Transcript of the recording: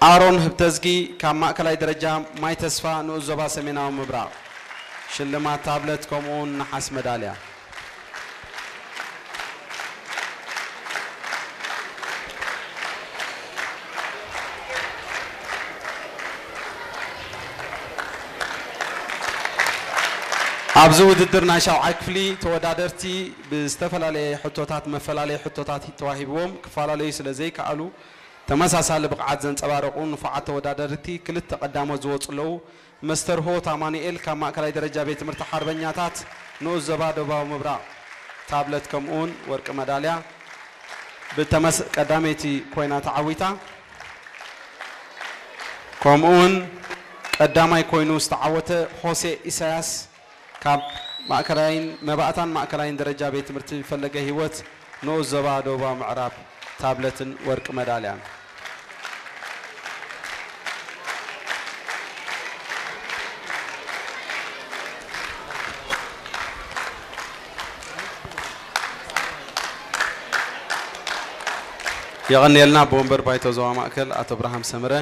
ኣሮን ህብተዝጊ ካብ ማእከላይ ደረጃ ማይ ተስፋ ንኡስ ዞባ ሰሜናዊ ምብራቕ ሽልማት ታብለት ከምኡውን ነሓስ መዳልያ። ኣብዚ ውድድር ናይ ሻውዓይ ክፍሊ ተወዳደርቲ ብዝተፈላለየ ሕቶታት መፈላለየ ሕቶታት ተዋሂብዎም ክፈላለዩ ስለ ዘይከኣሉ ተመሳሳሊ ብቕዓት ዘንጸባረቑ ንፉዓት ተወዳደርቲ ክልተ ቀዳሞት ዝወጹ ኣለዉ። መስተርሆት ኣማኑኤል ካብ ማእከላይ ደረጃ ቤት ትምህርቲ ሓርበኛታት ንኡስ ዞባ ደቡባዊ ምብራቕ ታብለት ከምኡውን ወርቂ መዳልያ ብተመስ ቀዳመይቲ ኮይና ተዓዊታ። ከምኡውን ቀዳማይ ኮይኑ ዝተዓወተ ሆሴ ኢሳያስ ካብ ማእከላይን መባእታን ማእከላይን ደረጃ ቤት ትምህርቲ ፈለገ ህይወት ንኡስ ዞባ ደቡባዊ ምዕራብ ታብለትን ወርቂ መዳልያን። የቐንየልና። ብወንበር ባይቶ ዞባ ማእከል ኣቶ ብርሃም ሰመረ።